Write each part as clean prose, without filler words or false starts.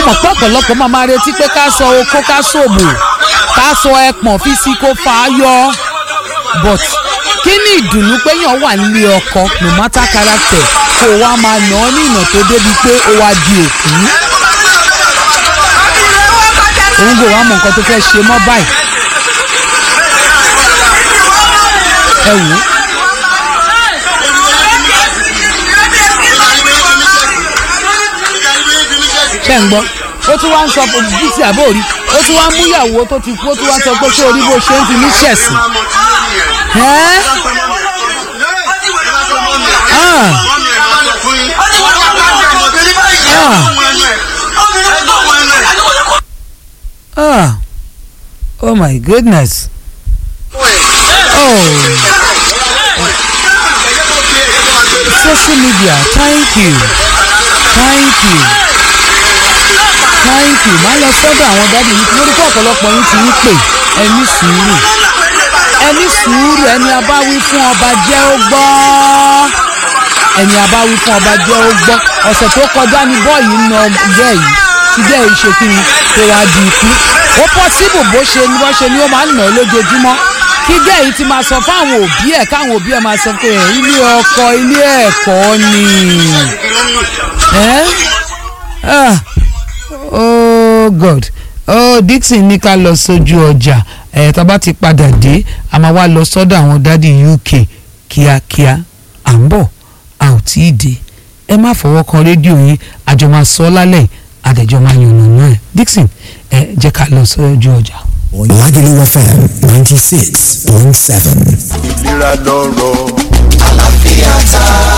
Mo mọ̀ pé ọ̀pọ̀lọpọ̀ máa retí pé ká sọ okó, ká sòbò, ká sọ ẹpọ̀n fi sí kó fà á yọ, but kí ni ìdùnnú pé yàn wà nílé ọkọ, no matter character, kó o wá máa nà ọ́ ní ìnà tó débi pé ó wá di òkú? Òun kò wá mọ nǹkan tó fẹ́ ṣe mọ́ báyìí. Ẹ wò ó. Ṣé ń gbọ́? Ó tún wá ń sọ bísí àbórí, ó tún wá ń múyàwó tó ti kú, ó tún wá ń sọ pé ṣé orí bó ṣe ń fi mí ṣẹ̀sìn. Ẹ́ ah ah ah, oh my goodness, oh, social media, thank you, thank you, thank you. Máa lọ sọ́dọ̀ àwọn daddy yìí. Mo rí pé ọ̀pọ̀lọpọ̀ yín ti ń pè. Ẹ ní sùúrù, ẹ ní sùúrù. Ẹni abáwí fún ọba jẹ́ ó gbọ́, ẹni abáwí fún ọba jẹ́ ó gbọ́. Ọ̀sẹ̀ tó kọjá ní boy ń na girl yìí, tí girl yìí ṣe kí ni tó wá di ikú. Ó possible bó ṣe ni wọ́n ṣe ni ó máa ń nà lójoojúmọ́, kí girl yìí ti máa sọ fáwọn òbí ẹ̀, káwọn òbí ẹ̀ máa sọ pé ilé ọkọ, ilé ẹ̀kọ́ ni. Eh? Ah. Oh God, oh, Dixon ní ká lọ sójú ọjà. Ẹ̀ tá a bá ti padà dé, a máa wá lọ sọ́dọ̀ àwọn daddy UK kíákíá. À ń bọ̀, a ò tí ì dé. Ẹ má fọwọ́ kan rédíò yín. Àjọ máa sọ lálẹ́, àdẹ̀jọ́ máa yànnà náà ẹ̀. Dixon, ẹ jẹ́ ká lọ sójú ọjà. Lagelu FM 96.7. Ìlera lọ́rọ̀.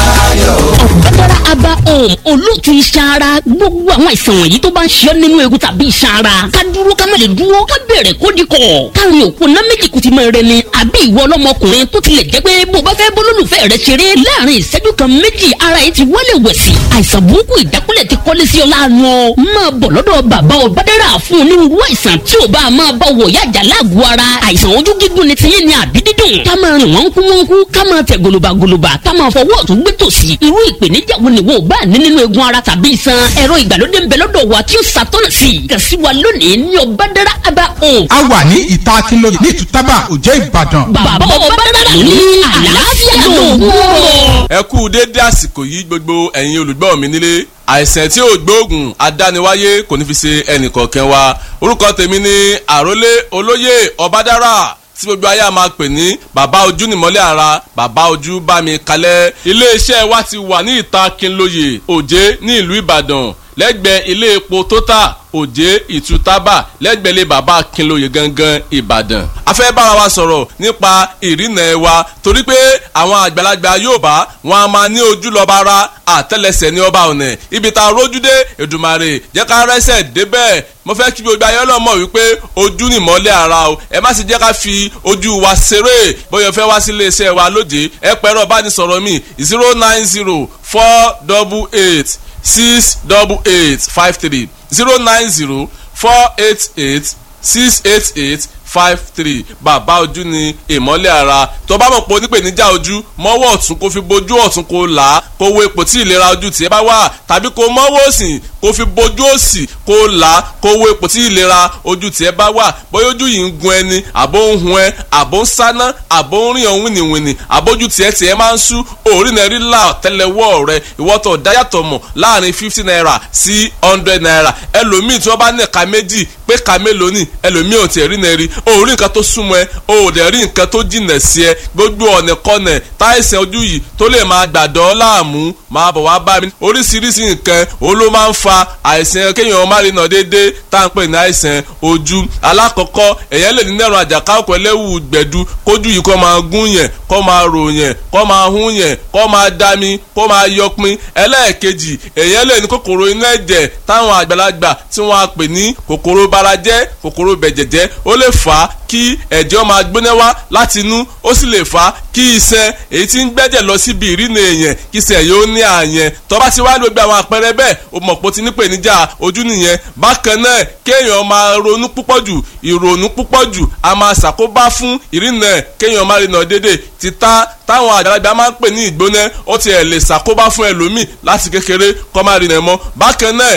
Ọ̀gbẹ́dára Aba Home, olóòtú iṣan ara. Gbogbo àwọn àìsàn wọ̀nyí tó bá ń ṣe ọ́ nínú egun tàbí iṣan ara, ká dúró ká má lè dúró, ká bẹ̀rẹ̀ kó di kọ̀, káàrin òkú ná méjì kùtì mọ́ rẹ ni. Àbí ìwọ ọlọ́mọkùnrin tó tilẹ̀ jẹ́ pé bó bá fẹ́ bólólùfẹ́ rẹ ṣeré láàrin ìṣẹ́jú kan méjì, ara yìí ti wálé wẹ̀sì, àìsàn burúkú ìjákulẹ̀ ti kọ́lé sí ọ láàánú ọ. Máa bọ̀ lọ́dọ̀ bàbá Ọ̀bádára fún onírúurú àìsàn tí ò bá máa bá wọ̀ yájà láàgọ̀ ara. Àìsàn ojú gígùn ni tiyín ni àbí dídùn, ká máa rìn wọ́n kú wọ́n kú, ká máa tẹ̀ gòlòbàgòlòbà, ká máa fọwọ́ ọ̀tún gbé tòsì, irú ìpèníjà wo ni wo bá ní nínú egun ara tàbí iṣan? Ẹ̀rọ ìgbàlódé ń bẹ lọ́dọ̀ wa tí ó ṣàtọ́nà sí i. Kàn sí wa lónìí ní Ọ̀bádára Aba Home. A wà ní ìta Akínlóye ní Ìtútàbà, Òjé, Ìbàdàn. Bàbá Ọ̀bádára ní àlàáfíà lóògùn. Ẹ kú déédé àsìkò yìí, gbogbo ẹ̀yin olùgbọ́ mi nílé. Àìsàn tí ò gbóògùn adániwáyé kò ní fi ṣe ẹnìkọ̀ọ̀kan wa. Orúkọ tèmi ni Àrólé Olóyè Ọbádára, tí gbogbo ayé a máa pè ní Bàbá Ojú Nìmọ́lẹ̀ Ara, Bàbá Ojú Bá Mi Kalẹ̀. Iléeṣẹ́ wa ti wà ní ìta Kínlóye, Òjé, ní ìlú Ìbàdàn, lẹ́gbẹ̀ẹ́ ilé epo Total, Òjé Ìtútàbà, lẹ́gbẹ̀ẹ́ ilé bàbá Kínlóye gangan, Ìbàdàn. A fẹ́ bára wa sọ̀rọ̀ nípa ìrìnà ẹ̀ wa, torí pé àwọn àgbàlagbà Yorùbá wọn a máa ní ojú lọ́ba ara, àtẹ́lẹsẹ̀ ní ọba ọ̀nà. Ibi tá a rójú dé, Èdùmàrè jẹ́ ká rẹ́sẹ̀ débẹ̀. Mo fẹ́ kí gbogbo ayé ọlọ́mọ wípé ojú ni ìmọ́lẹ̀ ara o. Ẹ má sì jẹ́ ká fi ojú wa ṣeré. Bóyá fẹ́ wá sí iléeṣẹ́ wa lóde, ẹ pẹ̀rọ ìbánisọ̀rọ̀ mi: 09048868853, 09048868853. Bàbá Ojú ni ìmọ́lẹ̀ ara. Tó bá mọ̀ pé onípèníjà ojú, mọ́wọ́ ọ̀tún kó fi bojú ọ̀tún, kó là á, kó wo ipò tí ìlera ojú tiẹ̀ bá wà, tàbí kó mọ́wọ́ òsì kó fi bojú òsì, kó là á, kó wo ipò tí ìlera ojú tiẹ̀ bá wà. Bóyá ojú yìí ń gun ẹni, àbó ń hun ẹ, àbó ń sáná, àbó ń rìn ọ̀hún wìnìwìnì, àbójú tiẹ̀ tiẹ̀ máa ń sú òórì náà rí là tẹ́lẹ̀wọ́ rẹ. Ìwọ́tọ̀ dáyàtọ̀ mọ̀ láàrin ₦50 sí ₦100. Ẹlòmíì tí wọ́n bá ní ẹ̀ka méjì pé ka mélòó ni, ẹlòmíì ò tiẹ̀ rí náà rí. O ò rí nǹkan tó súnmọ́ ẹ, o ò dẹ̀ rí nǹkan tó jìnà sí ẹ. Gbogbo ọ̀nà kọ́nà táìsàn ojú yìí tó lè máa gbàdọ́ láàmú, máa bọ̀ wá bá mi. Oríṣiríṣi nǹkan òun ló máa ń fa àìsàn kéèyàn má rí nà déédéé tá à ń pè ní àìsàn ojú. Alákọ̀ọ́kọ́, èèyàn lè ní nẹ̀rọ àjàká ọkọ̀ ẹlẹ́wù gbẹ̀du, kójú yìí kó máa gún yẹn, kó máa rò yẹn, kó máa hún yẹn, kó máa dami, kó máa yọpin. Ẹlẹ́ẹ̀kejì, èèyàn lè ní kòkòrò inú ẹ̀jẹ̀ táwọn àgbàlagbà tí wọ́n á pè ní kòkòrò barajẹ́, kòkòrò bẹ̀jẹ̀jẹ́. Ó lè fà á kí ẹ̀jẹ̀ máa gbóná wá láti inú. Ó sì lè fà á kí iṣan èyí tí ń gbẹ́jẹ̀ lọ síbi ìrìnà èèyàn, kí iṣan yóò ní àyẹn. Tó bá ti wá gbogbo àwọn àpẹẹrẹ bẹ́ẹ̀, o mọ̀ pé o ti ní ìpèníjà ojú nìyẹn. Bákan náà, kéèyàn máa ronú púpọ̀ jù, ìrònú púpọ̀ jù a máa ṣàkóbá fún ìrìnà, kéèyàn má rìnà déédéé. Títà táwọn àgbàlagbà máa ń pè ní ìgbóná, ó tiẹ̀ lè ṣàkóbá fún ẹlòmíì láti kékeré kó má rìnà mọ́. Bákan náà